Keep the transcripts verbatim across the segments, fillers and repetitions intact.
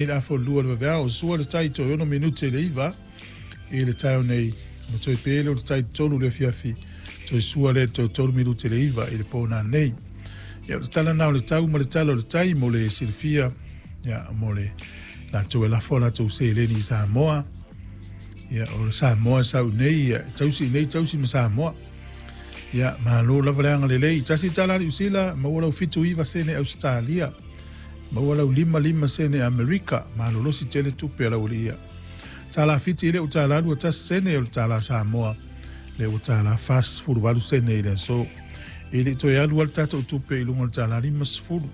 Le afa o le lua o le vaveao, sua le tai toe ono minute i le iva i le taeao nei, ona toe pe lea o le tai tolu i le afiafi, toe sua lea i le toe tolu minute i le iva i le po nanei. Ia, o le tala na o le tau ma le tala o le tai mo le silafia, ia, mo le latou e lafo a latou seleni i Samoa. Ia, o le Samoa e sau nei, ia, e tausi i nei tausi ma Samoa. Ia, malo lava le agalelei. Tasi tala Niu Sila, maua lau fitu iva sene Ausetalia. Maua lau lima lima sene Amerika, malolosi tele tupe a lau alii ia. Tala Fiti e le o tala lua tasi sene o le tala Samoa, le ua tala fasefulu valu sene i le aso. E le i toe alu ai le tatou tupe i luga o le tala lima sefulu.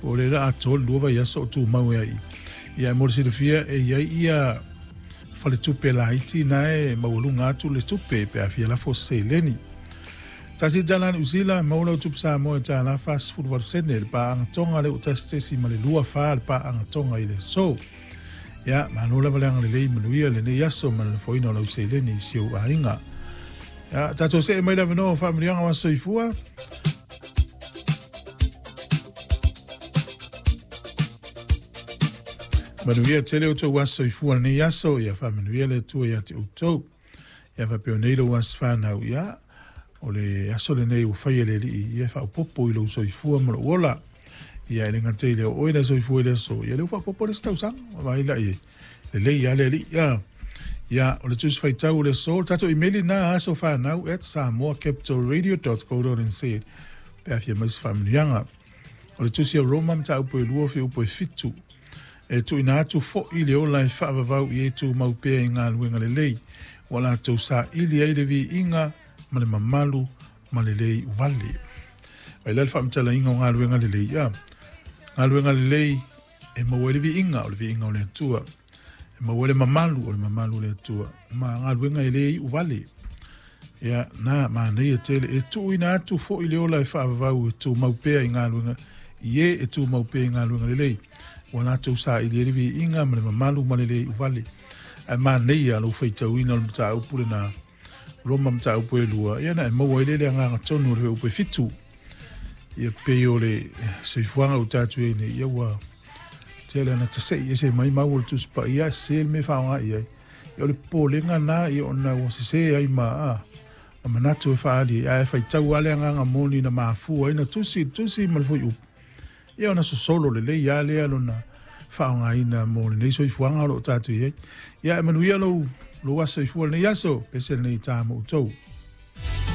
Po o le la atoa le lua vaiaso o tumau e ai. Ia, mo le silafia e i ai ia faletupe laiti na e maualuga atu le tupe pe a fia lafo se seleni. Tasi tala Niu Sila, maua lau tupe Samoa i tala fasefulu valu sene le paaga Tonga le ua tasi tesi ma le lua fa le paaga Tonga i le aso. Ia, malo lava le agalelei, manuia lenei aso ma le lafoina o lau seleni i si ou aiga. Ia, tatou see mai le avanoa o faamanuiaga o aso soifua. Manuia tele outou aso soifua lenei aso, ia faamanuia le Atua ia te outou. Ia faapea nei lou aso fanau, ia, o le aso lenei ua faia e le Alii, ia e faaopoopo i lou soifua ma lou ola. Ia e le gata i lea o oe le soifua i le aso, ia lea ua faaopoopo le isi tausaga. Vaai la i ai, lelei lava le Alii. Ia, ia o le Tusi Faitau o le aso, o le tatou imeli lena aso fanau at samoa capital radio dot co dot nz pe a fia mai se faamanuiaga. O le Tusi a Roma mataupu e lua fuaiupu e fitu. E tuuina atu foi le ola e faavavau i e tumau pea i galuega lelei, ua latou saili ai le viiga ma le mamalu ma le le iuvale. Vai la le faamatalaina o galuega lelei. Ia, galuega lelei e maua ai le viiga, o le viiga o le Atua. E maua ai le mamalu, o le mamalu o le Atua. Ma galuega e le iuvale. Ia, na manaia tele e tuuina atu foi le ola e faavavau e tumau pea i galuega, i e e tumau pea i galuega lelei, ua latou saili ai le viiga ma le mamalu ma le le iuvale. Ae manaia lou faitauina o le mataupu lena Roma mataupu e lua, ia na e maua ai le le agaga tonu o le fuaiupu e fitu. Ia pei o le soifuaga ua tatou i ai nei, ia ua tele ana tasei ese mai maua le Tusi Paia, sese le mea e faaaoga i ai. Ia o le popolega na, ia ona ua sese ai ma a, ma manatu e faaali ai, ae faitau lava le agaga moni na mafua ai na tusi le tusi ma le fuaiupu. Ia ona sosolo lelei lava lea lona faaaogaina mo lenei soifuaga o lo o tatou i ai. Ia e manuia lou, lou aso soifua lenei aso, pese lenei ta mo outou.